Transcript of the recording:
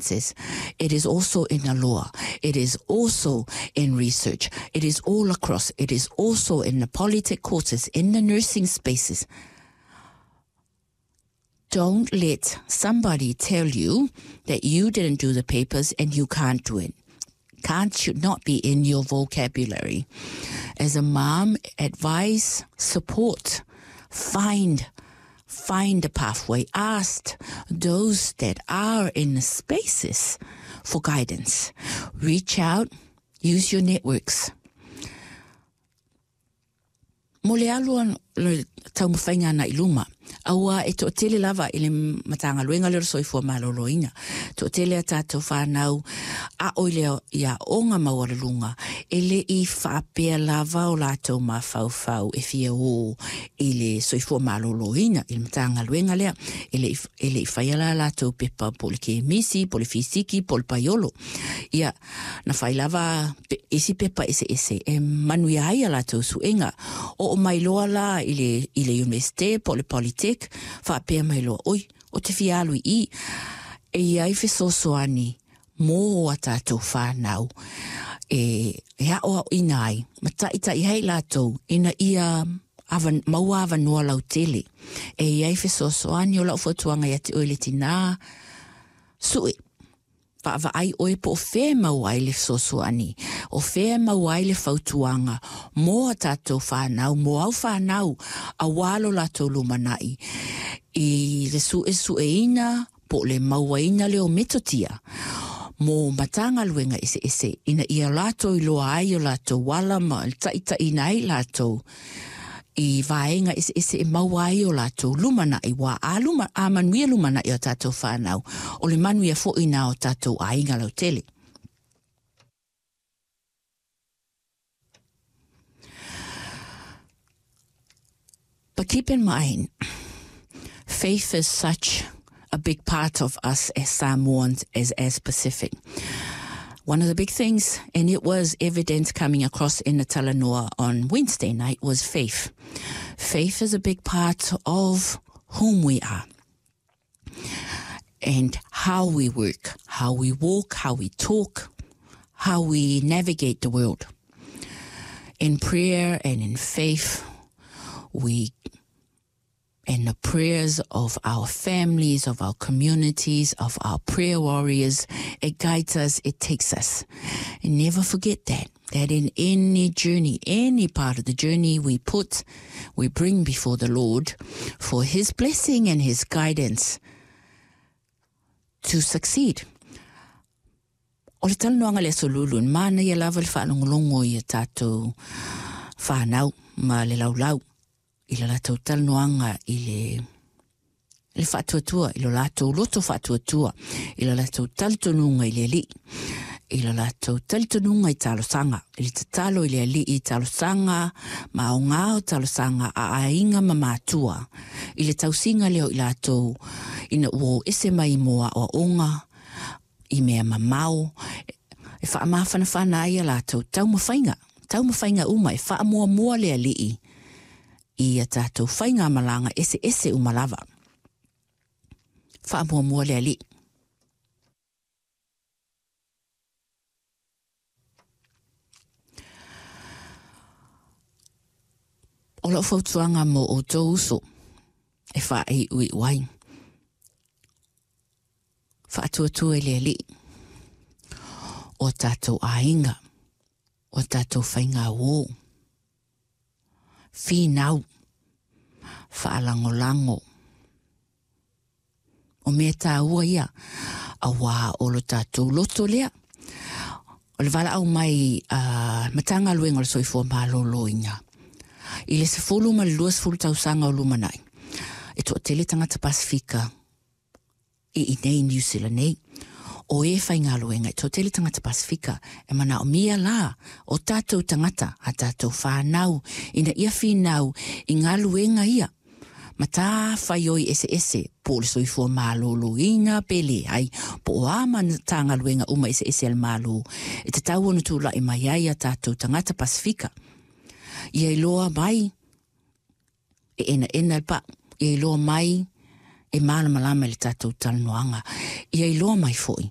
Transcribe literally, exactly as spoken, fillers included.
circumstances. It is also in the law. It is also in research. It is all across. It is also in the polytech courses, in the nursing spaces. Don't let somebody tell you that you didn't do the papers and you can't do it. Can't should not be in your vocabulary. As a mom, advise, support, find, find a pathway. Ask those that are in the spaces for guidance. Reach out, use your networks. Mo le alu le taumafaiga agai i luma. Aua e toatele lava i le Matagaluega lea o le Soifua Maloloina. Toatele a tatou fanau a'o i le i aoga maualuluga e le i faapea lava o latou mafaufau e fia o i le soifua maloloina i le Matagaluega lea. E le e le i faia la latou pepa po le kemisi, po le fisiki, po le paiolo. Ia, na fai lava pe, isi pepa eseese e manuia ai a latou suega. Oo mai loa la i le, i le universite po le polytech, faapea mai loa, oi, ou te fia alu i i, e i ai fesoasoani mo a tatou whānau e, e a'oa'oina ai, ma ta'ita'i ai latou ina ia awa, maua avanoa lautele. E i ai fesoasoani o la'u fautuaga ia te oe le tinā, su'e vaavaai oe po o fea e maua ai le fesoasoani, o fea e maua ai le fautuaga mo a tatou fanau, mo au fanau, auā lo latou lumana'i i le su'esu'eina po o le mauaina lea o metotia mo Matagaluega eseese ina ia latou iloa ai o latou ala ma le ta'ita'iina ai latou i vaega eseese e maua ai o latou lumana'i ua a luma a manuia lumana'i o tatou fanau o le manuia fo'i na o tatou aiga lautele. But keep in mind, faith is such a big part of us as Samoans, as, as Pacific. One of the big things, and it was evident coming across in the Talanoa on Wednesday night, was faith. Faith is a big part of whom we are and how we work, how we walk, how we talk, how we navigate the world. In prayer and in faith, we and the prayers of our families, of our communities, of our prayer warriors, it guides us, it takes us. And never forget that, that in any journey, any part of the journey we put, we bring before the Lord for His blessing and His guidance to succeed. O le talanoaga le Aso Lulu, e manaia lava le faalogologo i a tatou fanau ma le laulau i le latou talanoaga i le le faatuatua, i lo latou loto faatuatua, i lo latou talitonuga i le Alii, i lo latou talitonuga i talosaga, i le tatalo i le Alii i talosaga ma aogā o talosaga a aiga ma matua, i le tausiga lea o i latou ina ua o ese mai mo aoaoga i mea mamao, e faamafanafana ai a latou taumafaiga, taumafaiga uma e faamuamua le Alii i a tatou faigamalaga eseese uma lava. Faamuamua le Alii. O lau fautuaga mo outou uso e faaiuiu ai. Faatuatua i le Alii o tatou aiga, o tatou faigauō. Finau, faalagolago. O mea tāua ia, auā o lo tatou loto lea. O le valaau mai a Matagaluega o le Soifua Maloloina i le sefulu ma le luasefulu tausaga o lumanai, e toatele tagata Pasefika i inei i Niu Sila nei. O e faigaluega e toatele tagata Pasefika e manaomia la o tatou tagata a tatou whānau ina ia finau i galuega ia. Matafaioi eseese po o le soifua maloloina pe leai po o a Matagaluega uma eseese a le Malo e tatau ona tula'i mai ai a tatou tagata Pasefika. Ia iloa mai e enaena le pa'u, ia iloa mai e malamalama i le tatou talanoaga, ia iloa mai foi.